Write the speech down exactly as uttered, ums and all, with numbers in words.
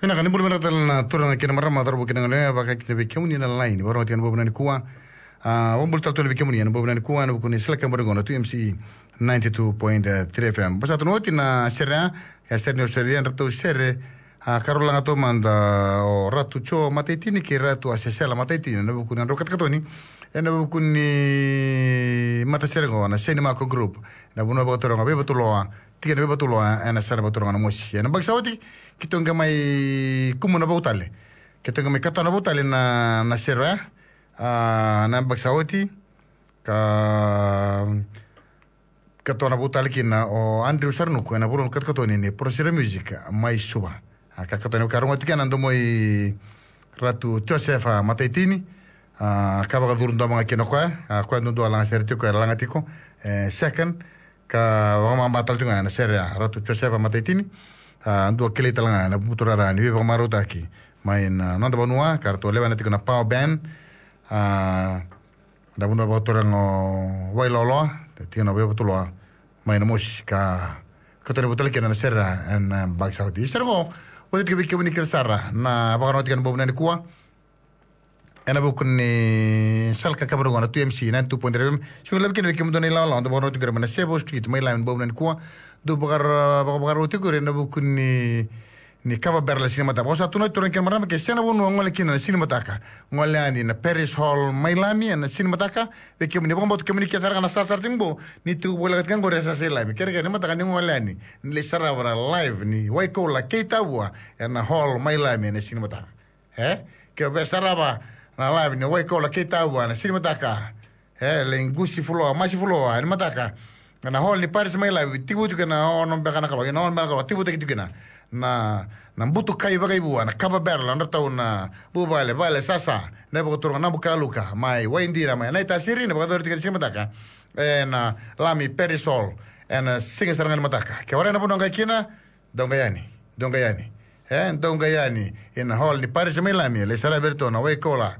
Vinaka, ni bula vinaka tale na turaga kei na marama, cauravou kei na goneyalewa, vaka kina vei kemuni na laini. Vakarorogo tiko ena bogi vinaka nikua. A, vakabula tale tu vei kemuni ena bogi vinaka nikua ena vuku ni Sala Kaba Rogoca na two M C ninety-two point three F M. Basika tu na oti na sere, a sere ni sere, a dratou sere. A, karolaga taumada o Ratu Jo Mataitini kei Ratu Asesela Mataitini ena vuku ni nodrau katakatoni ena vuku ni matasere qo na Seni Mako Group, na vanua vakaturaga Veivatuloa, tikina Veivatuloa, ena sara vakaturaga na Mosi. Ena yabaki sa oti keitou qai mai kumuna vou tale, keitou qai mai katona vou tale na, na sere oya. A, na yabaki sa oti ka, katona vou tale kina o Andrew Saranuku ena vanua ni katakatoni ni Prosira Music mai Suva. A, ka katona, ka rogoca tiko kina na domo i Ratu Josefa Mataitini. A, ka vakacuru domo ga kina o koya, a, koya duadua laga sere tiko, e laga tiko, e, second. Ka vakamaba tale tiko ga ena sere ya Ratu Josefa Mataitini. A, dua kilai tale ga ena butu rara ni veivakamarautaki mai na noda vanua, ka ratou lewena tiko na Power Band. A, na vanua vakaturaga o Wailoaloa, tikina Veivatuloa, mai na Mosi, ka katoni vou tale kina na sere ya ena yabaki sa oti. Sere qo, vou tiko vei kemuni kece sara na vakarorogo tiko ena bogi vinaka nikua ena vuku ni Sala Kaba Rogoca na two M C ninety-two point three F M. Sega ni laivi kina vei kemudou na ilawalawa dou vakarorogo tiko mai na Sevo Street mai Lami ena bogi vinaka nikua. Dou vakara, vaka, vakarorogo tiko ena vuku ni, ni cover barrel na Siga ni Mataka. Vakasa tu na turaga kei na marama, ke sega na vanua o gole kina na Siga ni Mataka, gole yani na Parish Hall mai Lami ena Siga ni Mataka. Vei kemuni vakabauta kemuni kece sara ga na sarasara tiko qo, ni tiko voleka tiko qori e Sasa i Lami, kerekere ni mataka ni gole yani ni lai sarava na live ni Waikoula kei Tavua ena hall mai Lami ena Siga ni Mataka. E, ke o via sarava na live ni Waikoula kei Tavua ena Siga ni Mataka, e, lai qusi fuloa, masi fuloa ena mataka, na hall ni Parish mai Lami, tekivu tiko ena ono beka na kaloko, ena ono beka na kaloko, tekivutaki tiko kina na, na butukai vakaivua, na cover barrel, na nodratou na vuvale, vale Sasa, na vakaturaga Nabukaluka mai Waidina, mai Naitasiri, na vakayacori tiko ena Siga ni Mataka ena Lami Parish Hall ena siga sara ga ni mataka. Ke o rai na vanua qai kina, dou qai yani, dou qai yani. E, dou qai yani ena hall ni Parish mai Lami, lai sarava vei iratou na Waikoula